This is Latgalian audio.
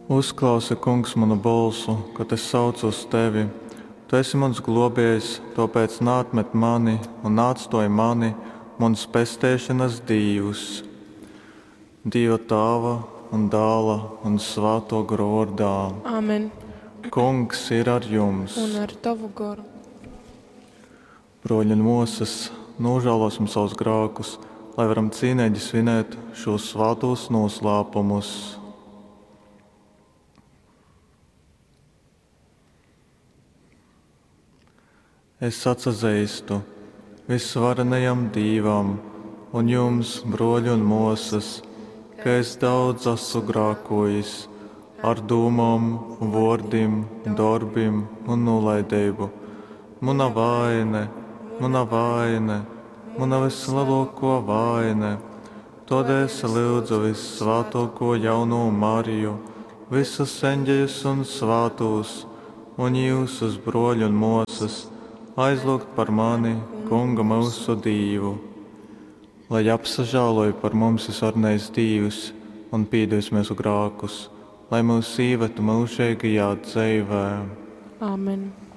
Uzklausi, Kungs, munu bolsu, kod es saucu uz tevi. Tu esi muns glōbējs, tōpēc naatmet mani un naatstōj mani, muns pesteišonas Dīvs! Dīva Tāva un Dāla un Svātō Gora vōrdā. Amen. Kungs ir ar jums! Un ar tovu goru. Brōļi un mōsas, nūžālōsim savus grākus, lai varam cīneigi svinēt šūs svātūs nūslāpumus. Es atsazeistu visvarenajam Dīvam un jums, brōļi un mōsas, ka es daudz esmu grākojis ar dūmom, vōrdim, dorbim un nūlaideibu. Muna vaine, muna vaine, muna vislielākā vaine. Tādēļ es lyudzu vissvātāko jauno Mariju, visus eņģeļus un svātūs, un jūsus, brōļi un mōsas, aizlūgt par mani, Kungu mūsu Dīvu. Lai apsažāloj par mums visvarenais Dīvs un pīdevis mūsu grākus, lai mūs īvetu mūžīgajā dzeivē. Amen.